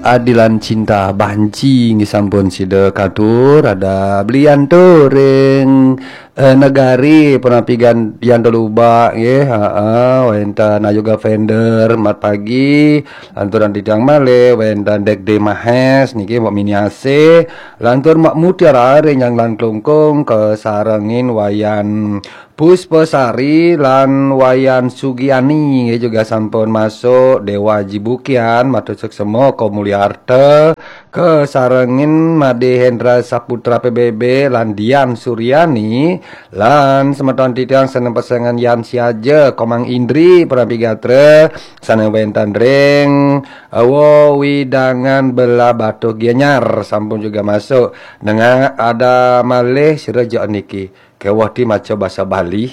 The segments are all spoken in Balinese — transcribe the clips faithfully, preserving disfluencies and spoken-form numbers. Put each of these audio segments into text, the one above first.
Adilan Cinta Banci nggih sampun sida katur, ada belian to ring eh, negari penapigan Dian Teluba nggih, heeh, wenten Ayu Gavender mat pagi, lantur titiang malih wenten Dek De Mahes niki Mbok Miniase, lantur Mbok Mutiara ring Nyanglan Klungkung kasarengin Wayan Puspasari lan Wayan Sugiani nggih juga sampun masuk, Dewa Jibukian matur suksema, Ko Mulyarta kasarengin Made Hendra Saputra P B B lan Dian Suryani lan semeton titiang sane pesengan Yan Siaja, Komang Indri, Prabi Gatra sane wenten ring Wewidangan Belah Batuh Gianyar sampun juga masuk. Nengah ada malih sira jok niki. Keweh ti maca basa Bali.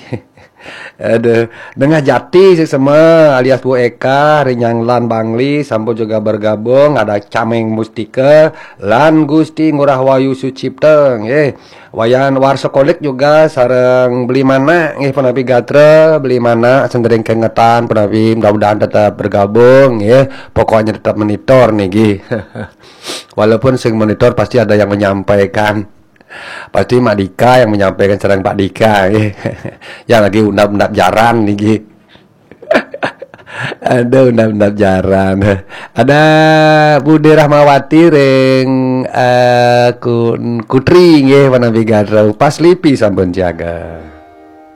Aduh, Nengah Jati suksema alias Bu Eka, ring Nyanglan Bangli sampun juga bergabung, ada Cameng Mustika lan Gusti Ngurah Wayu Sucipta nggih. Wayan Warsa Kolik juga sareng Beli Manak nggih, Penapi Gatra, Beli Manak sendering kengetan, Penapi mudah-mudahan tetap bergabung nggih. Pokoknya tetap monitor niki. Walaupun sing monitor pasti ada yang menyampaikan. Pasti Mak Dika yang menyampaikan sareng Pak Dika nggih. Yang lagi undap-undap jaran niki. Ada undap-undap jaran. Ada Bude Rahmawati ring eh, Kun- Kutri nggih, Penapi Gatra. Pas Lipi sampun jaga.